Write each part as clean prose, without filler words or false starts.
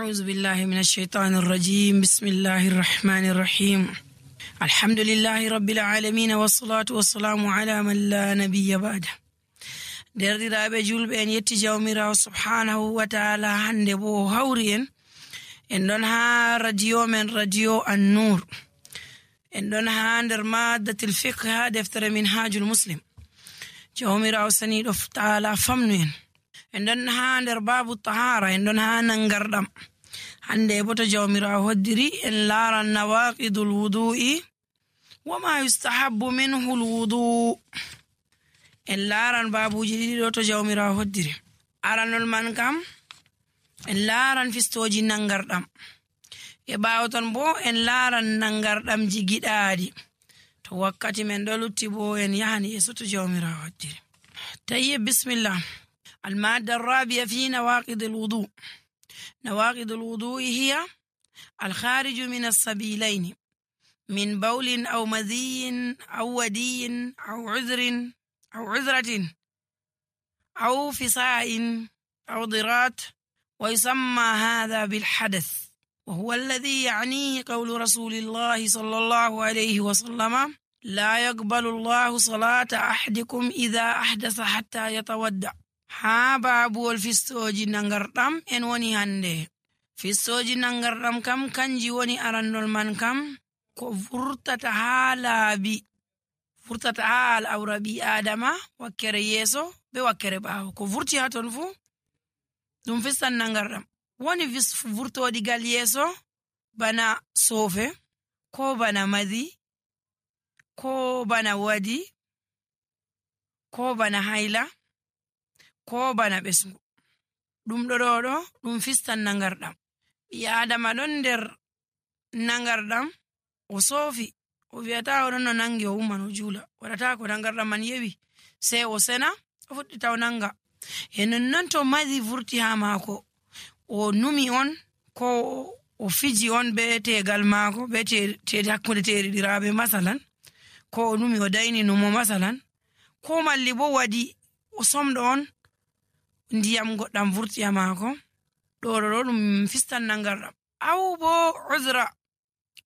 أعوذ بالله من الشيطان الرجيم. بسم الله الرحمن الرحيم. الحمد لله رب العالمين والصلاة والسلام على من لا نبي بعده. derdiraaɓe julɓe en yetti jawmirawo subhanahu wa ta'ala. hande bo hawri en ɗon ha radio men radio an-nur, en ɗon ha nder maddatil fiqh ha deftere minhajul muslim. jawmirawo saniɗo ta'ala famnu en ɗon ha nder babu tahara, en ɗon ha nangarɗam. hande bo to jawmirawo hoddiri en laran nawaqidul wudu'i wa ma yustahabbu minhu al-wudu'. en laran babuji ɗiɗi ɗo to jawmirawo hoddiri. aranol man kam en laran fistoji nangarɗam, e ɓawo ton bo en laran nangarɗamji giɗaɗi. to wakkati men ɗo lutti bo en yahani yeso to jawmirawo hoddiri. tayyib, bismillah. المادة الرابعة في نواقض الوضوء. نواقض الوضوء هي الخارج من السبيلين من بول أو مذي أو ودي أو عذرة أو فساء أو ضرات، ويسمى هذا بالحدث، وهو الذي يعنيه قول رسول الله صلى الله عليه وسلم: لا يقبل الله صلاة أحدكم إذا أحدث حتى يتودع. ha babuwol fistoji nangarɗam en woni hande. fistoji nangarɗam kam kanji woni arannol man kam ko vurtata ha laabi, vurtata ha al'aura ɓi adama wakkere yeso be wakkere ɓawo. ko vurti ha ton fu ɗum fistan nangarɗam. woni vurtodigal yeso bana sofe, ko bana madi, ko bana wadi, ko bana haila, ko bana ɓesgu. ɗum ɗo ɗum fistan nangarɗam. ɓi adama ɗon nder nangarɗam o soofi, o wi'ata oɗon no nangi o umman o juula, waɗata ko nangarɗam man yewi sei o sena o fuɗɗita o nanga. e nonnon to madi vurti ha maako, o numi on ko o fiji on be tegal maako be hakkunde teriɗiraɓe masalan, ko o numi o dayni numo masalan, ko malli bo waɗi o somɗo on ndiyam goɗɗam vurti ha maako, ɗo ɗum fistan nangarɗam. aw bo uzra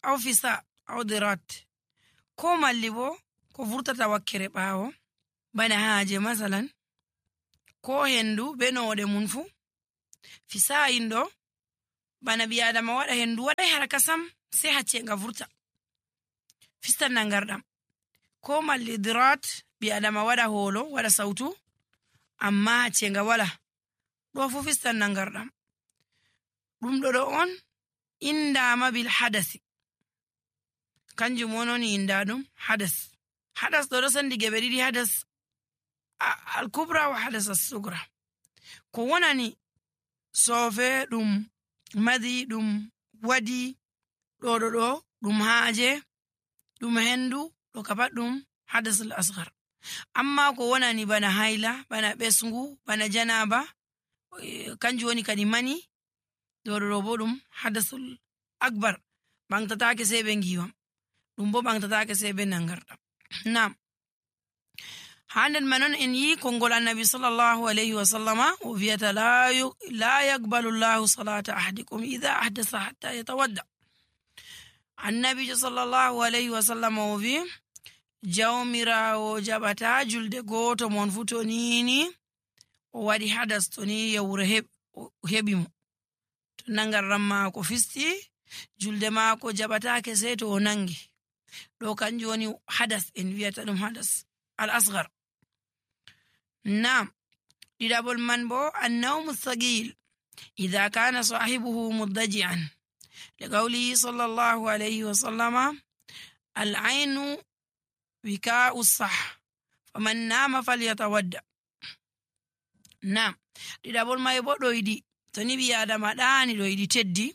aw fisa aw dirat, ko malli bo ko vurtata wakkere ɓawo bana haaje masalan, ko hendu be noɗe mun fu. fisa'in ɗo bana ɓi adama waɗa hendu waɗa haraka sam sei hacce nga vurta, fistan nangarɗam. ko malli dirat, ɓi adama waɗa holo waɗa sautu amma hacce nga wala, ɗo fu fistan nangarɗam. ɗum ɗo on indama bil hadasi, kanjum wononi inda ɗum hadas. hadas ɗo sandi geɓe ɗiɗi: hadas al kubra wa hadas as-sugra. ko wonani sofe, ɗum madi, ɗum wadi, ɗo ɗum haaje, ɗum hendu, ɗo kapat ɗum hadas al-asghar. amma ko wonani bana haila, bana ɓesgu, bana janaba, kanjum woni kadi mani, ɗo bo ɗum hadasul akbar, ɓangtatake sei ɓe ngiwam, ɗum bo ɓangtatake sei ɓe nangarɗam. nam ha nden manon en yi konngol annabi sallallahu alayhi wa sallama o wiyata la yaqbalu llahu salata ahadikum idha ahdasa hatta yatawadda. annabijo sallallahu alayhi wa sallama o wi jawmirawo jaɓata julde goto mon fu to nini o waɗi hadas, to ni yawre heɓi mo, to nangarɗam maako fisti, julde maako jaɓatake sei to o nangi. ɗo kanjum woni hadas, en wiyata ɗum hadas al asghar. nam ɗiɗaɓol man bo annawmu thaqil idha kana sahibuhu muddaji'an, li qawlihi sallallahu alayhi wa sallama: al aynu wika'u sah faman nama falyatawadda. nam ɗiɗaɓol may bo ɗoyɗi. to ni ɓi adama ɗaani ɗoyɗi teddi,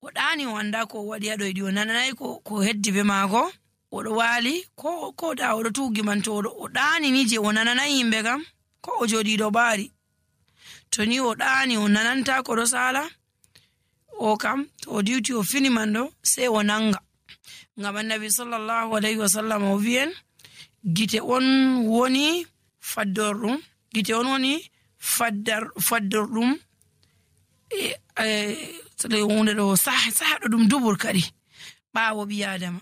o ɗaani o anda ko o waɗi ha ɗoyɗi, o nananayi ko heddi be maako, oɗo waali ko da oɗo tuugi man, to o ɗaani ni je o nananayi yimɓe kam, ko o joɗiɗo ɓaari. to ni o ɗaani o nananta ko ɗo sala, o kam to o diwti o fini man ɗo sei o nanga. ngam annabi sallallahu alayhi wa sallam o wi'en gite on woni faddorɗum, gite on woni faddorɗum so hunde ɗo saha ɗo ɗum dubur kadi ɓaawo ɓi adama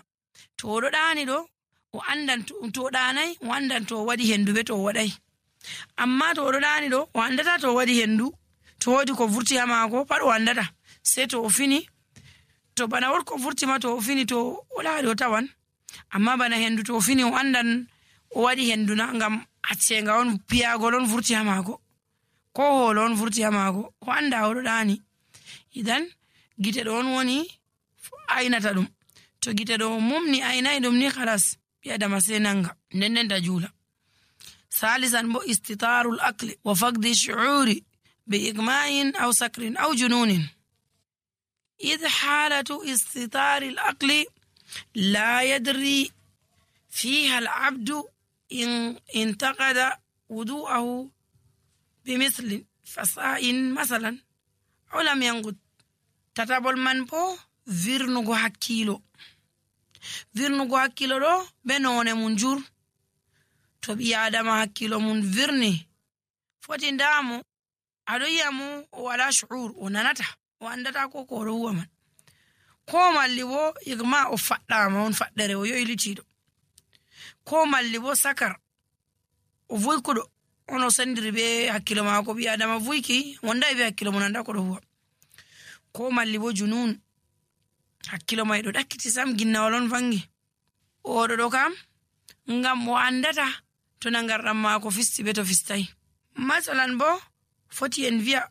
to oɗo ɗaani ɗo o andan to ɗanai o andan to waɗi hendu be to waɗai, amma to oɗo ɗaani ɗo o andata to waɗi hendu to wodi ko vurti ha maako pat o andata, sai to o fini to bana wot ko vurti ma to o fini to o ɗaani o tawan, amma bana hendu to o fini o andan o waɗi hendu na ngam accenga on piyagol on vurti ha maako ko holo on vurti ha maako o anda oɗo ɗaani. Idan gite ɗo on woni aynata ɗum, to gite ɗo mumni aynai ɗum ni khalas ɓi adama sai nanga nden ta juula. Salisan bo istitarul aqli wa faqdi shu'uri bi igma'in aw sakrin aw jununin. إذ حالة استطار العقل لا يدري فيها العبد إن انتقد وضوءه بمثل فساء مثلا أو لم ينقض. تتابل من بو virnugo hakkilo ɗo be none mun jur. To ɓi adama hakkilo mun virni foti ndamo aɗo yi'a mo o wala shu'ur o nanata o andata ko oɗo huwa man, ko malli bo igma o faɗɗama on faɗɗere o yoylitiɗo, ko malli bo sakar o vuykuɗo on o sendiri be hakkilo mako ɓi adama vuyki wondai be hakkilo mun anda ko ɗo huwa, ko malli bo junun hakkilo mai ɗo ɗakkiti sam ginnawol on vangi oɗo ɗo kam ngam o andata to nangarɗam mako fisti be to fistai. Masalan bo foti en vi'a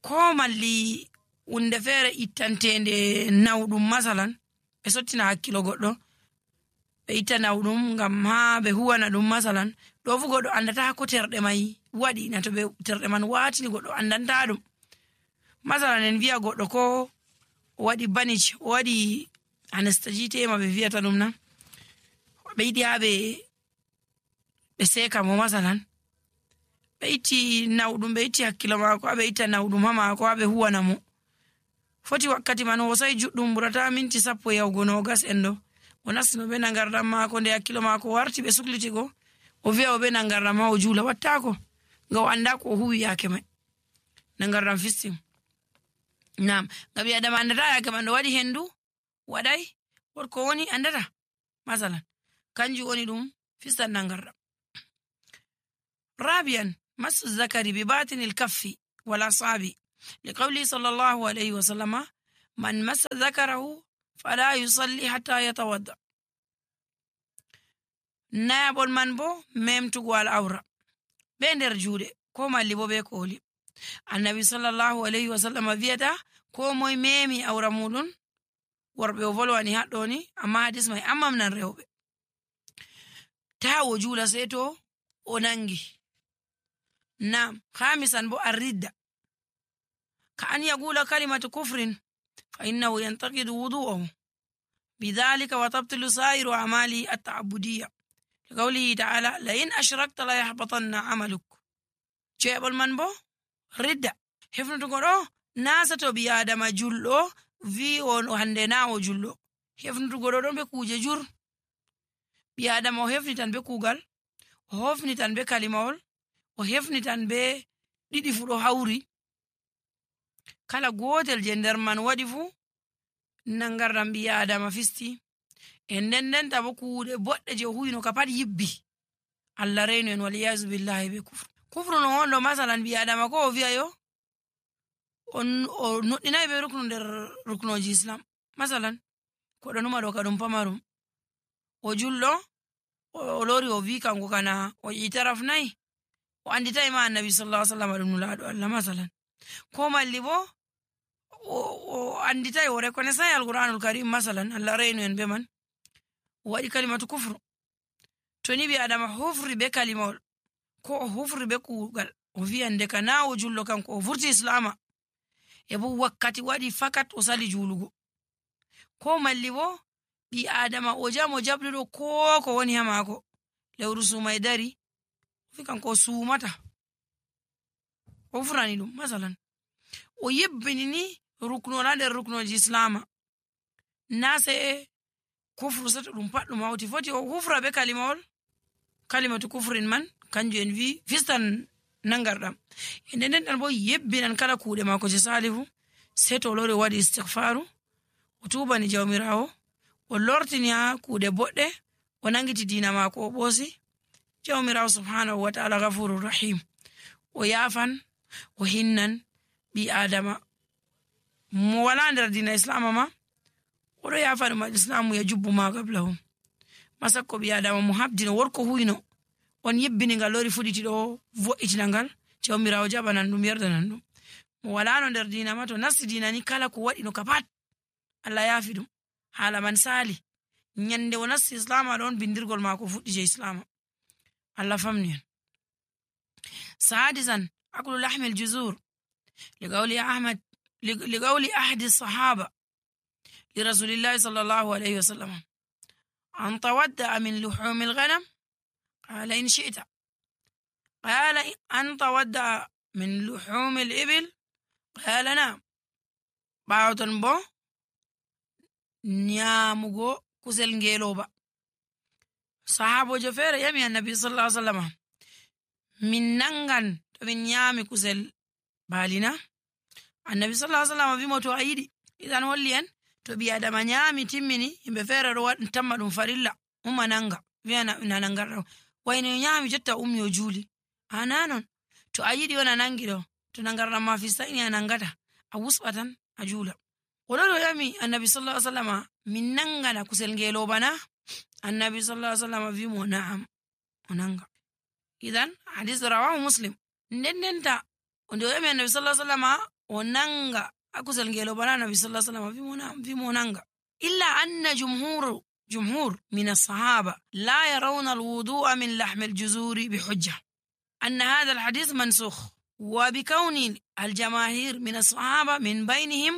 ko malli hunde feere ittantende nawɗum masalan ɓe sottina hakkilo goɗɗo ɓe itta nawɗum ngam ha ɓe huwana ɗum masalan ɗo fu goɗɗo andata ko terɗe mai waɗi na to ɓe terɗe man watini goɗɗo andanta ɗum. Masalan en vi'a goɗɗo ko o waɗi banich o waɗi anesthésie ɓe vi'ata ɗum na ɓe yiɗi ha ɓe seka mo masalan ɓe itti nawɗum ɓe itti hakkilo mako ha ɓe itta nawɗum ha mako ha ɓe huwana mo foti wakkati man hosai juɗɗum ɓurata minti 10 yahugo 20 en ɗo o nastino be nangarɗam mako nde hakkilo mako warti ɓe sukliti go o wi'a o be nangarɗam ma o juula wattako nga o anda ko o huwi yake mai nangarɗam fistim. Nam ngabi adama andata yake man ɗo waɗi hendu waɗai wotko woni andata masalan kanju woni ɗum fistan nangarɗam. Rabian masu zakari bi batinil kaffi wala sabi لقوله صلى الله عليه وسلم من مس ذكره فلا يصلي حتى يتوضأ. نابل من بو ممتو الأورا بين رجوله كوما اللي بو بيكولي النبي صلى الله عليه وسلم فيدا كومو ميمي أورا مولون وربي وفلواني هاتوني أما حديث ما أمام نرهوبي تاو جولا سيتو ونانجي. نعم. خامسا بو الردة كأن يقول كلمة كفر فإنه ينتقد وضوءه بذلك وتبطل سائر أعماله التعبدية لقوله تعالى لئن أشركت لا يحبطن عملك. جيب المنبو ردة حفن تقول ناسة بيادم جلو في وهندنا وجلو حفن تقول بكوجة جر بيادم وحفن تن بكوغل وحفن تن بكلمة وحفن تن بدي فرو هوري kala gotel je nder man waɗi fu nangarɗam ɓi adama fisti e nden tabo kuuɗe boɗɗe je huyino ka pat yibbi Allah reynu en waliyasu billahi be kufru no wonɗo masalan ɓi adama ko o wi'a yo o nuɗɗinayi be ruknu nder ruknoji islam masalan koɗo numa ɗo ka ɗum pamarum o julɗo o lori o wi kanko kana o itaraf nayi o anditayi ma annabi sallallahu alaihi wasallam ɗum nulaɗo Allah masalan ko malli bo o anditay o reconnaissay alquranul karim masalan Allah reynu en be man o waɗi kalimatu kufru. To ni ɓi adama hufri be kalimawol ko o hufri be kuugal o wiyande ka na o jullo kanko o vurti islama e bo wakkati waɗi fakat o sali julugo, ko malli bo ɓi adama o jam o jaɓɗuɗo ko woni ha maako lewru sumay dari o wi kanko o sumata o hufrani ɗum masalan o yebbini ni ruknol ha nder ruknoji islama na sai kufru sato ɗum pat ɗum hawti foti o hufra be kalimatu kufrin man kanju en wi fistan nangarɗam e nden bo yebbinan kala kuuɗe mako je salihu sei to o lori waɗi istighfaru o tubani jawmirawo o lortini ha kuuɗe boɗɗe o nangiti dina maako o ɓoosi jawmirawo subhanahu wa ta'ala gafurur rahim o yafan o hinnan ɓi adama mo wala nder dina islama ma oɗo yafani ma islamu ya jubbu ma gablahum masakko ɓi adama mo habdino worko huyno on yebbini ngal lori fuɗiti ɗo vo'itina ngal jawmirawo jaɓanan ɗum yerdanan ɗum mo walano nder dina ma to nasti dina ni kala ko waɗi no ka pat Allah yafi ɗum hala man sali nyande o nasti islama ɗon bindirgol mako fuɗɗi je islama Allah famni en sadisan aklu lahmi aljuzur لقول أحد الصحابة لرسول الله صلى الله عليه وسلم أن تودع من لحوم الغنم قال إن شئت قال أن تودع من لحوم الإبل قال نعم باوتن بو نيامغو كسل نجيلوبا صحابو جفير يمي النبي صلى الله عليه وسلم من ننغن من نيامي كسل بالنا النبي صلى الله عليه وسلم في موتو أيدي إذن وليان to bi adama nyami timmini himbe fere do wad tamma dum farilla umma nanga wiana nananga wayno nyami jotta ummi o juli ananon to ayidi wana nangi do to nangarna ma fi sayni anangata a wusbatan a jula odo yami annabi sallallahu alaihi wasallam min nangana kusel ngelo bana annabi sallallahu alaihi wasallam vi mo na'am onanga idan hadith rawahu muslim nendenta ondo yami annabi sallallahu alaihi wasallam onanga akusel ngelo bana nabi sallallahu alaihi wasallam fi monanga illa anna jumhur min as-sahaba la yarawna al-wudu'a min lahm al-juzur bihujja anna hadha al-hadith mansukh wa bikawni al-jamaahir min as-sahaba min baynihim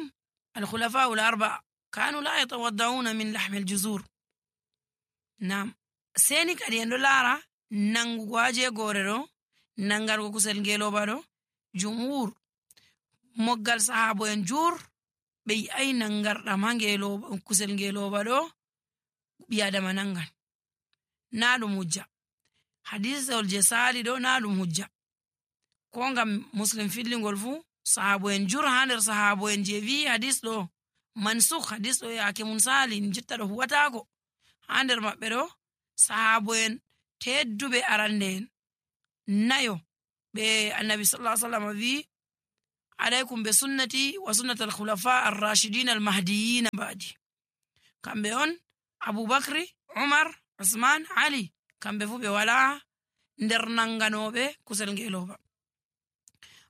al-khulafa al-arba'a kanu la yatawadda'una min lahm al-juzur nam seni kadi endo lara nangu gwaje gorero nangargo kusel ngelo bado jumhur moggal sahabo en jur be ay nangarda mangelo kusel ngeloba do bi adama nangan na dum hujja hadith ol je sali do na dum hujja ko ngam muslim fillingol fu sahabo en jur hander sahabo en je vi hadith do mansukh hadith do yake mun sali jitta do huwata ko hander mabbe do sahabo en teddube arande en nayo be annabi sallallahu alaihi wasallam vi عليكم بسنتي وسنة الخلفاء الراشدين المهديين بعدي كان بيون أبو بكر عمر عثمان علي كان بفو بولا ندرنانغانو بي كسلنجيلوبا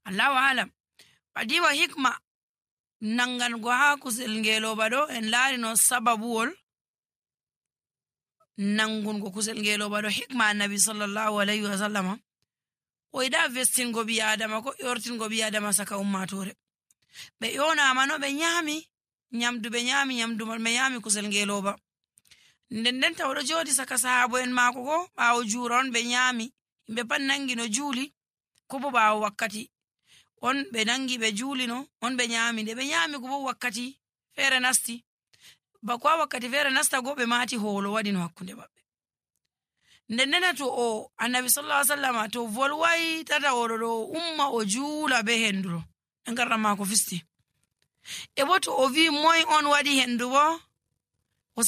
الله أعلم بعدي وحكمة نانغانغوها كسلنجيلوبا دو إن لارنو سببول نانغونغو كسلنجيلوبا دو حكمة النبي صلى الله عليه وسلم o ida vestingo bi adama ko yortingo bi adama saka ummatore be yona mano be nyami nyamdu be nyami kusel ngeloba ndenden tawdo jodi saka sahabo en mako ko bawo juron be nyami be pan nangi no juli ko bo bawo wakkati on be nangi be juli no on be nyami de be nyami ko bo wakkati fere nasti ba ko wakkati fere nasta go be mati holo wadi no hakkunde babbe ndennena to o annabi sallallahu alaihi wasallam to volwai tata woro umma o jula be henduro ngarra mako fisti e boto o vi moy on wadi hendu bo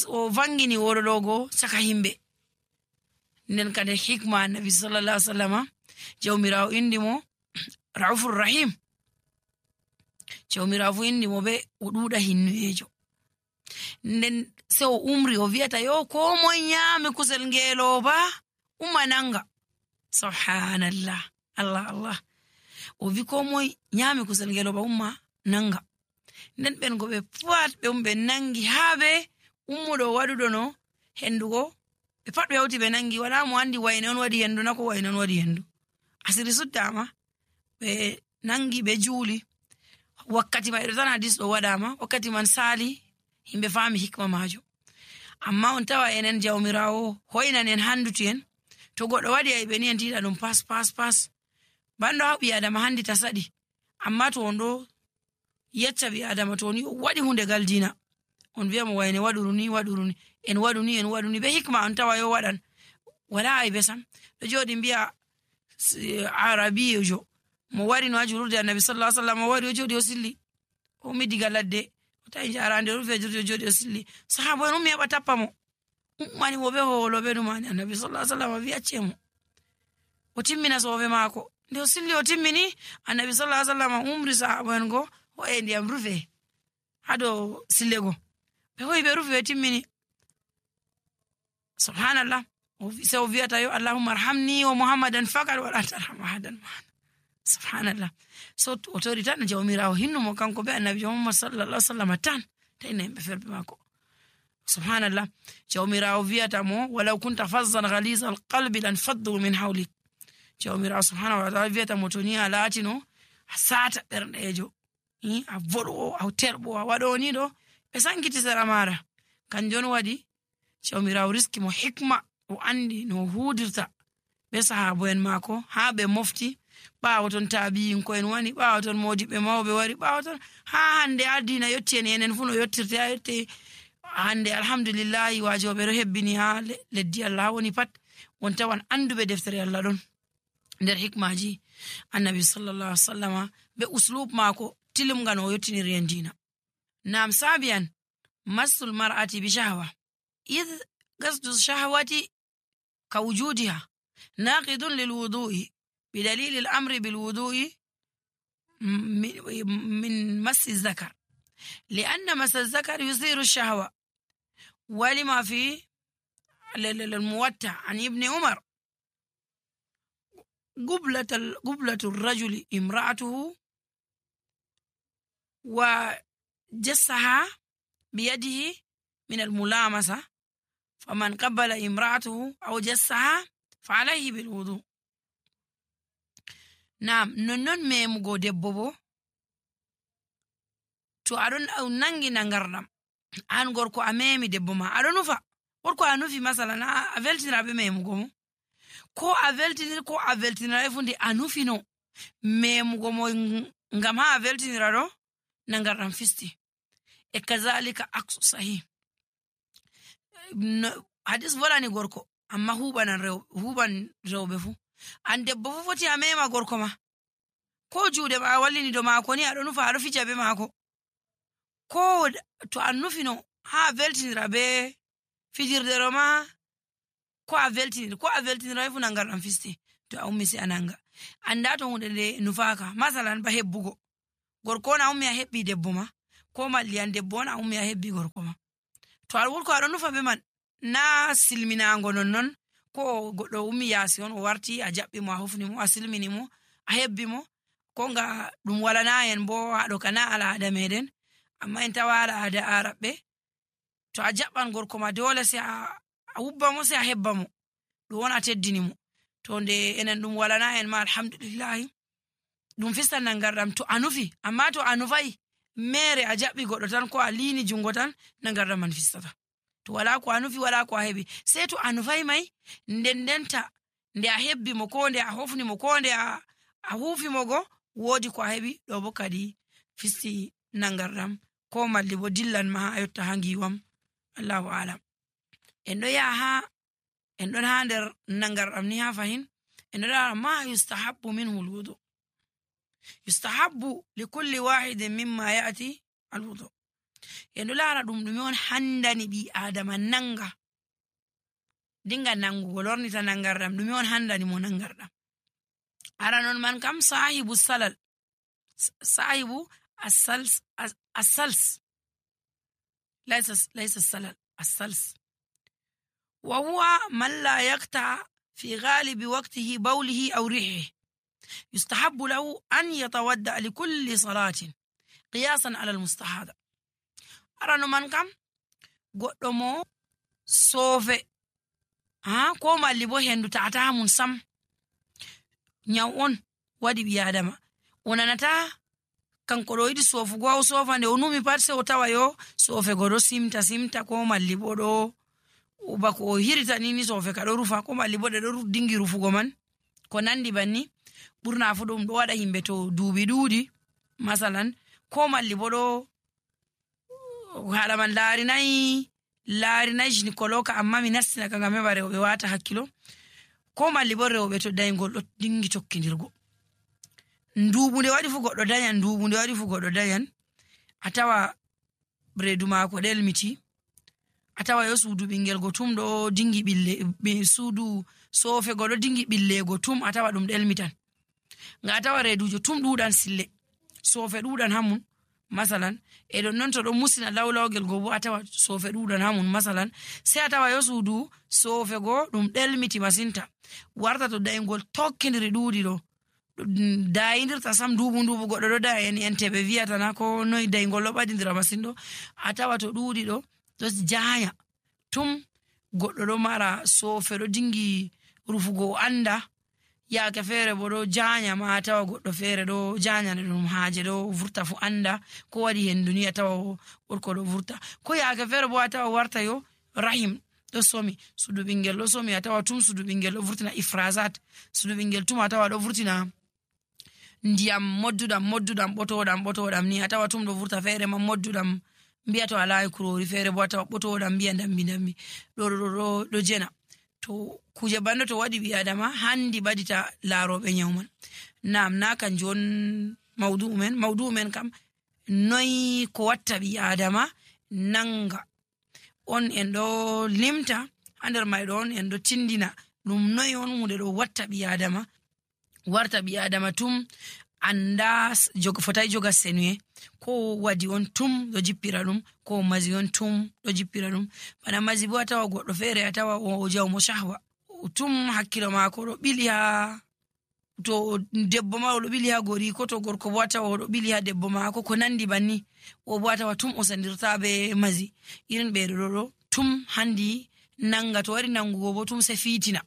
o vangini woro dogo saka himbe nden kade hikma annabi sallallahu alaihi wasallam jawmirawo indimo raufur rahim jawmirawo indimo be o duda hinnuejo nden se o umri o viata yo ko mo nyame kusel ngelo ba umananga subhanallah allah o vi ko mo nyame kusel ngelo ba umma nanga nden ben go be pat be umbe nangi habe ummudo wadudo no hendugo be pat be hauti be nangi wala mo andi wayne on wadi hendu nako wayne on wadi hendu asiri suddama be nangi be juli wakkati ma irtana hadis do wadama wakkati man sali himbe fami hikma majo amma on tawa enen jawmirawo hoynan en handuti en to goddo wadi ay beni en tida dum pas bando habi adama handi tasadi amma to ondo yecca bi adama to ni wadi hunde galdina on biya mo wayne waduruni en waduni be hikma on tawa yo wadan wala ay besam do jodi biya arabiyo jo mo wari no ajurde annabi sallallahu alaihi wasallam wari o jodi o silli o mi diga ladde o tawi jarande rufe jodi o silli sahaba en mi heɓa tappa mo mani mo be holoɓe ɗumani annabi sallallahu alaihi wasallam wi acce mo o timmina sofe maako nde o silli o timmini annabi sallallahu alaihi wasallam umri sahaba en go o e ndiyam rufe hado sille go ɓe hoyi ɓe rufe ɓe timmini subhanallah se o wiyata yo allahumma arhamni wa muhammadan faqat wala tarham ahadan subhanallah so o tori tan jawmirawo hinnu mo kanko be annabi muhammad sallallahu alaihi wasallam tan tayna yimɓe ferbe maako subhanallah jawmirawo wiyata mo walaw kunta fazzan ghaliza alqalbi lan faddu min hawlik jawmirawo subhanahu wa ta'ala wiyata mo to ni a latino a sata ɓerɗejo a voɗo a terɓo a waɗo ni ɗo ɓe sankiti sera mara kanjon waɗi jawmirawo riski mo hikma o andi no hudirta be sahabo en maako ha ɓe mofti ɓawo ton taabiyin ko en wani ɓawo ton modiɓɓe mawɓe wari ɓawo ton ha hande addina yetti en enen fu no yettirte ha yette hande alhamdulillahi wajoɓe ɗo hebbini ha leddi Allah woni pat won tawan anduɓe deftere Allah ɗon nder hikmaji annabi sallallahu alaihi wasallama be uslub maako tilumga no yettiniri en dina nam sabiyan masul mar'ati bi shahwa id qasdu shahwati ka wujudiha naqidun lil wudu'i بدليل الأمر بالوضوء من مس الذكر لأن مس الذكر يثير الشهوة ولما في الموتع عن ابن عمر قبلة الرجل امرأته وجسها بيده من الملامسة فمن قبل امرأته أو جسها فعليه بالوضوء Naam non memugo debbo bo to aɗon nangi nangarɗam an gorko a memi debbo ma aɗon nufa gorko a nufi masalan a veltinira be memugo mo ko a veltinira fu nde a nufi no memugo mo ngam ha a veltinira ɗo nangarɗam fisti e kazalika aksu sahih hadis volani gorko amma huban rewɓe fu an debbo fu foti a mema gorko ma ko juuɗe ma wallini do maako ni aɗo nufa aɗo fija be maako ko to an nufino ha veltinira be fijirdero ma ko a veltinira fu nangarɗam fisti to a ummi si ananga anda to hunde nde nufaka masalan ba hebbugo gorko na ummi a hebbi debbo ma ko malli an debbo na ummi a hebbi gorko ma to a wurko aɗo nufa be man na silminango non ko goɗɗo ummi yaasi on o warti a jaɓɓi mo a hofni mo a silmini mo a hebbi mo ko nga ɗum walana en bo haɗo kana al'ada meɗen amma en tawa al'ada araɓɓe to a jaɓɓan gorko ma dole sai a hubba mo sai a hebba mo ɗum won a teddini mo to nde enen ɗum walana en ma alhamdulillahi ɗum fistan nangarɗam to a nufi amma to a nufai mere a jaɓɓi goɗɗo tan ko a liini jungo tan nangarɗam man fistata to wala ko a nufi wala ko a heɓi sei to a nufai mai ndendenta nde a hebbi mo ko nde a hofni mo ko nde a huufi mo go woodi ko a heɓi ɗo bo kadi fisti nangarɗam ko malli bo dillan ma a yotta ha ngiwam allahu alam en ɗo yaha en ɗon ha nder nangarɗam ni ha fahin en ɗo lara ma yustahabbu minhu alwudu yustahabbu likulli wahidin mimma ya'ti alwudu en ɗo lara ɗume on handani ɓi adama nanga dinga nangugo lornita nangarɗam ɗume on handani mo nangarɗam ara non man kam sahibu salal sahibu السلس ليس السلل السلس وهو من لا يقطع في غالب وقته بوله أو ريحه يستحب له أن يتودع لكل صلاة قياسا على المستحاضة أرانو من كم قدمو صوفي كوما اللي بو هندو تعتها من سم نيوون ودي بيادما ونانتا kanko ɗo yiɗi sofugo o sofa nde o numi pat se o tawa yo sofe go ɗo simta ko malli bo ɗo bako o hirita nini sofe ka ɗo rufa ko malli bo ɗe ɗo dingi rufugo man ko nandi banni ɓurna fu ɗum ɗo waɗa himɓe to duuɓi ɗuuɗi masalan ko malli bo ɗo haala man laarinayi gynécologue amma mi nastina ka ngam heɓa rewɓe wata hakkilo ko malli bo rewɓe to dayngol ɗo dingi tokkidirgo ndubu nde waɗi fu goɗɗo dañan a tawa reedu maako ɗelmiti, a tawa yo suudu ɓingel go tum ɗo dingi ɓille suudu soofego ɗo dingi ɓillego tum, a tawa ɗum ɗelmitan. Nga a tawa reedujo tum ɗuɗan sille, soofe ɗuɗan hamun masalan, e ɗon non to ɗo musina lawlawgel go bo a tawa soofe ɗuɗan hamun masalan, sai a tawa yo suudu soofego ɗum ɗelmiti masinta, warta to dayngol tokkidiri ɗuuɗi ɗo dayidirta sam duuɓu goɗɗo ɗo da en teɓe wiyatana ko noy daygol ɗo ɓadidira masin ɗo, a tawa to ɗuuɗi ɗo janya tum goɗɗo ɗo mara soofe ɗo dingi rufugo anda, yaake feere bo ɗo janya ma a tawa goɗɗo feere ɗo janyane ɗum haaje ɗo vurta fu anda ko waɗi hendu ni a tawa gorko ɗo vurta, ko yaake feere bo a tawa warta yo rahim ɗo somi, sudu ɓingel ɗo somi a tawa tum sudu ɓingel ɗo vurtina ifrasat, sudu ɓingel tum a tawa ɗo vurtina ndiyam modduɗam ɓotoɗam ni a tawa tum ɗo vurta, feere man modduɗam mbiya to alayi kurori, feere bo a tawa ɓotoɗam mbiya dambi ɗo jena. To kuje bando to waɗi ɓi adama handi ɓadita laaroɓe nyawman. Nam na kanjum on maudu'u men kam noy ko watta ɓi adama nanga on en ɗo limta ha nder mai ɗo on en ɗo tindina ɗum noy on hunde ɗo watta ɓi adama warta ɓi adama tum anda fotai joga senuye, ko wadi on tum ɗo jippira ɗum, ko mazi on tum ɗo jippira ɗum. Bana mazi bo a tawa goɗɗo feere a tawa o jawmo shahwa, tum hakkilo maako ɗo ɓili ha to debbo ma oɗo ɓili ha gori, ko to gorko bo a tawa oɗo ɓili ha debbo maako ko nandi banni, o bo a tawa tum o sandirta be mazi. Irin ɓeɗo ɗo tum handi nanga, to wari nangugo bo tum se fitina,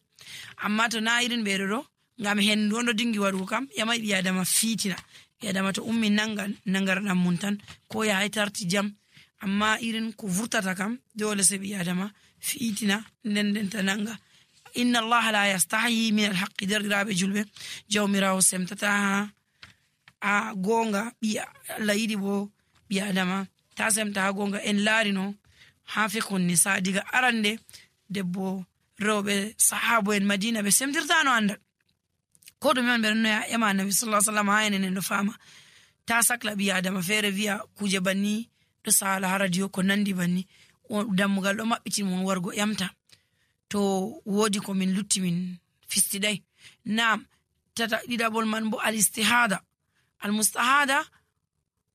amma to na irin ɓeɗo ɗo ngam hendu on ɗo dingi waɗugo kam yamai ɓi adama fitina, ɓi adama to ummi nangarɗam mun tan ko yahay tarti jam, amma irin ko vurtata kam dole se ɓi adama fitina ndendenta nanga. Inna allaha la yastahi min alhaqqi, derɗiraɓe julɓe jawmirawo semtata ha gonga, Allah yiɗi bo ɓi adama ta semta ha gonga. En laarino ha fiqhun nisa diga arande debbo rewɓe sahabo en madina ɓe semtirtano andal, ko ɗume on ɓe ɗon ema annabi sallallahu alaihi wasallam ha enen ɗo fama ta sakla ɓi adama feere wiya kuje banni ɗo sala ha radio ko nandi banni, dammugal ɗo maɓɓiti mon wargo ƴamta to wodi ko min lutti min fistiɗai. Nam ɗiɗaɓol man bo al istihada, al mustahada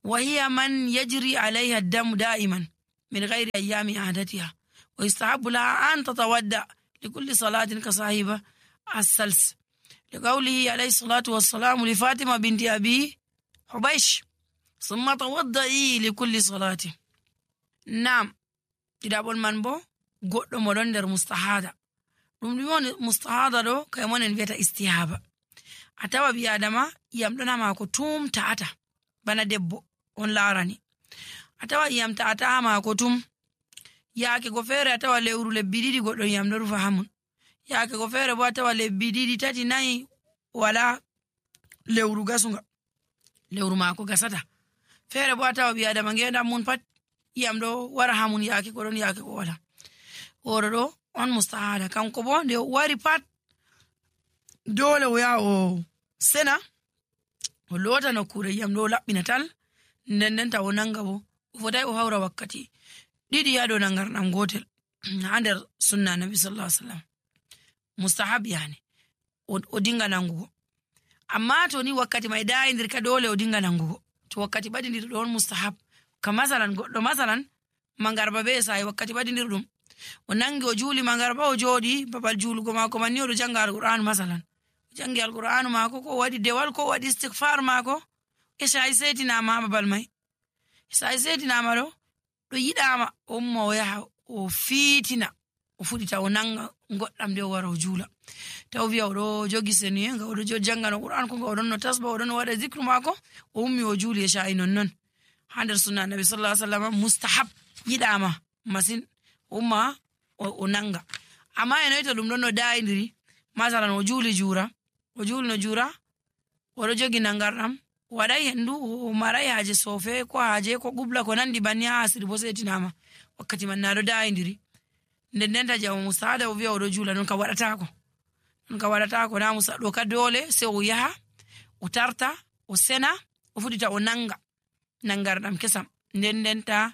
wa hiya man yajri alayha ad-damu da'iman min ghairi ayyami adatiha wa yustahabbu laha an tatawadda likulli salatin ka sahiba as-sals لقوله عليه الصلاة والسلام لفاطمة بنت أبي حبيش ثم توضئي لكل صلاة. نعم ɗiɗaɓol man bo goɗɗo mo ɗon nder mustahada, ɗum ɗum woni mustahada ɗo kay mon en wiyata istihaba. A tawa ɓi adama iyam ɗon ha maako tum ta'ata, bana debbo on laarani, a tawa iyam ta'ata ha maako tum, yaake go feere a tawa lewru lebbi ɗiɗi goɗɗo iyam ɗo rufa hamun, yaake go feere bo a tawa lebbi ɗiɗi tati nayi wala lewru gasunga, lewru maako gasata. Feere bo a tawa ɓi adama ngendam mun pat iyam ɗo wara hamun, yaake ko ɗon yaake ko wala. Oɗo ɗo on mustahada, kanko bo nde wari pat dole o yaha o sena o loota nokkure iyam ɗo laɓɓina tal, ndendenta o nanga bo o fotai o hawra wakkati ɗiɗi ha dow nangarɗam gotel ha nder sunna nabi sallallahu alaihi wasallam. Mustahab yani o dinga nangugo, amma to ni wakkati mai dayidir ka dole o dinga nangugo, to wakkati ɓadidir ɗo on mustahab. Ka masalan goɗɗo masalan mangarba be sa'i wakkati ɓadidir ɗum o nangi o juuli mangarba o jooɗi babal juulugo maako manni oɗo janga alqur'anu masalan, o jangi alqur'anu maako ko waɗi dewal ko waɗi istighfar maako, e sa'i setinama ha babal mai, sa'i setinama ɗo yiɗama o umma o yaha o fiitina o fuɗita o nanga goɗɗam nde o wara o juula, taw wiya oɗo jogi senuye nga oɗo jangano qur'an ko nga oɗon no tasba oɗon no waɗa zicre maako, o ummi o juuli e sa'i nonnon ha nder sunna nabi sallallahu alaihi wasallam. Mustahab yiɗama masin umma o nanga, amma e noyto ɗum ɗon no dayidiri masalan o juuli no juura oɗo jogi nangarɗam waɗai hendu o marai haaje sofe ko haaje ko gubla ko nandi banni ha asiri bo setinama wakkati man naɗo dayidiri, ndendenta jamo mustahada o wiya oɗo juula, non ka waɗatako na musa ɗo ka dole se o yaha o tarta o sena o fuɗita o nanga nangarɗam kesam nden ta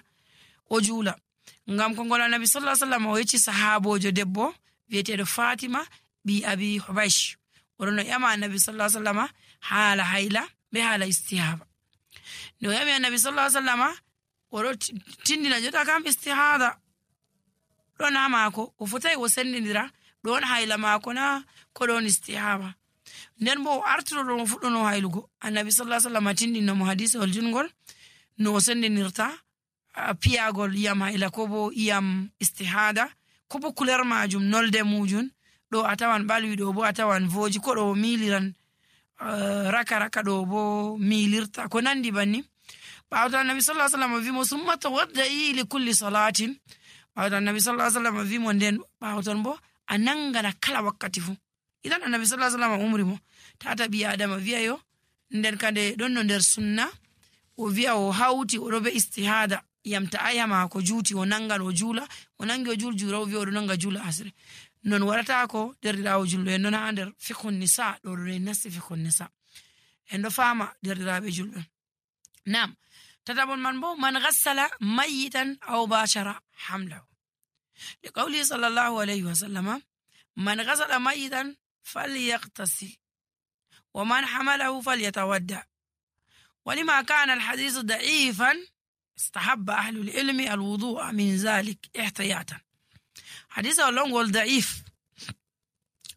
o juula. Ngam ko ngol Annabi sallallahu alaihi wasallam o yecci sahabojo debbo wi'eteɗo Fatima bi Abi Hubaysh oɗon yama Annabi sallallahu alaihi wasallam haala hayla be haala istihaba. No yami Annabi sallallahu alaihi wasallam oɗo tindina jota kam istihada ɗon ha maako o fotai o sendindira ɗon hayla maako na ko ɗon istihaba. Nden bo o artiro o fuɗɗono haylugo. Annabi sallallahu alaihi wasallam tindino mo hadisi ol jungol no o sendinirta piyagol iyam hayla ko bo iyam istihada ko bo couleur majum nolde mujum ɗo a tawan ɓalwi ɗo bo a tawan voji ko ɗo miliran raka ɗo bo milirta ko nandi banni. ɓawta Annabi sallallahu alaihi wasallam wimo summa tawadda'i li kulli salatin. ɓawta Annabi sallallahu alaihi wasallam wimo nden ɓawton bo a nangana kala wakkati fu. Idan Annabi sallallahu alaihi wasallam umri mo tata bi adama wi'a yo nden kande ɗon no nder sunna o wi'a o hauti o ɗo be istihada yamta ayama ko juuti o nangan o juula o nangi o juula o wi'a o ɗo nanga juula asre non warata ko derɗirawo julɗo en non ha nder fikhun nisa ɗo ɗo en nasti fikhun nisa en ɗo fama derɗiraɓe julɓe. Nam tatabon man bo man ghassala mayitan aw bashara hamlahu li qawli sallallahu alayhi wa sallama man ghassala mayitan falyaqtasil wa man hamalahu falyatawadda ولما كان الحديث ضعيفا استحب أهل العلم الوضوء من ذلك احتياطا. حديث اللون ضعيف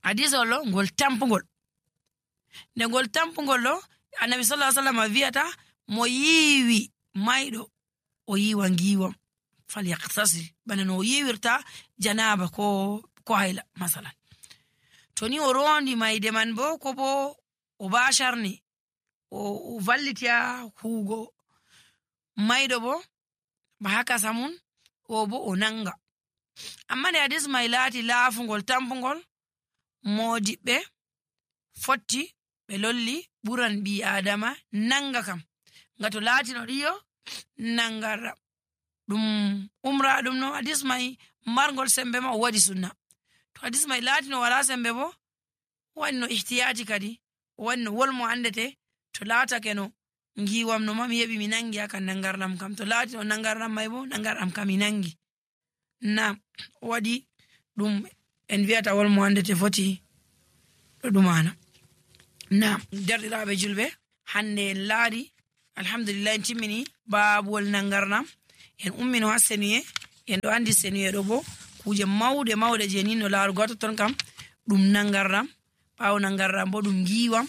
حديث اللون تامبونغول نقول تامبونغول لو النبي صلى الله عليه وسلم فيتا مويوي مايدو ويوا نجيوم فليغتسل بنو يورتا جنابه ko hayla masalan toni o rondi mayde man bo ko bo o basharni o vallitiya hugo maydo bo ba haka samun o bo o nanga. Amma ne hadis may laati laafungol tampungol modibbe fotti be lolli buran bi adama nanga kam ngato laati no diyo nangara dum umra dum no hadis may margol sembe ma o wadi sunna. To hadis may laati no wala sembe bo wanno ihtiyati kadi wanno wolmo andete to laata keno ngiwam no mami yebi mi nangi akan nangarnam kam to laati no nangarnam may bo nangarnam kam mi nangi na wadi dum en wiata wolmo andete foti do dumana. Na derdiraabe julbe hande en laari alhamdulillah en timmini baabul nangarnam en ummino haseniye en do andi seniye do bo kuje mawde je ni no laaru goto ton kam dum nangarnam baaw nangarnam bo dum ngiwam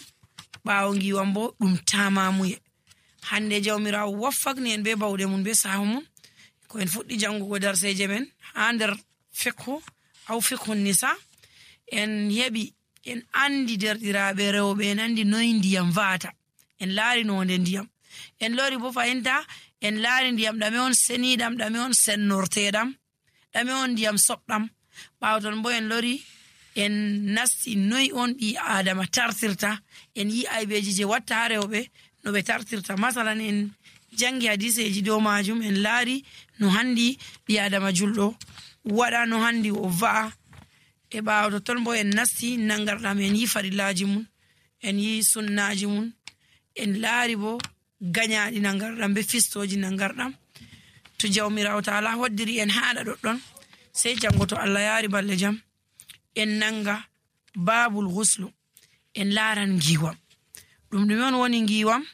baaw ngiwam bo dum tamamuye. Hande jawmirawo waffakni en be bawde mun be sahumun ko en fuddi jangugo darseje men ha nder fiqhu aw fiqhun nisa en hebi en andi derdiraabe rewbe en andi noy ndiyam vaata en laari no nde ndiyam en lori bo fayinta en laari ndiyam dame on senidam dame on sennortedam dame on ndiyam soɓɗam bawton bo en lori en nasti noy on bi adama tartirta en yi aybeji je watta ha rewbe no be tartirta masalan en jangi hadiseji do majum en laari no handi bi adama juldo wada no handi o va'a e bawto ton bo en nasti nangardam en yi farillaji mun en yi sunnaji mun en laari bo ganyaadi nangardam be fistoji nangardam. To jawmirawo taala hoddiri en haada doddon sey jango to Allah yaari balle jam en nanga babul ghuslu en laaran ngiwam dum on woni ngiwam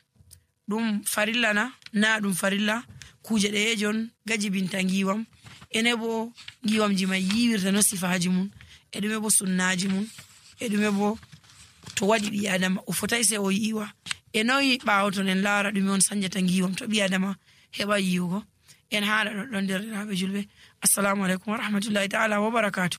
dum farilla na dum farilla kuje deejon gajibinta ngiwam ene bo ngiwam ji may yiwirta no sifaji mun e dum bo sunnaji mun e dum bo to wadi bi adama o fotay se o yiwa e noyi bawton en laara dum on sanjata ngiwam to bi adama heba yiwugo en haala don derdiraabe julbe. Assalamu alaikum wa rahmatullahi ta'ala wa barakatuh.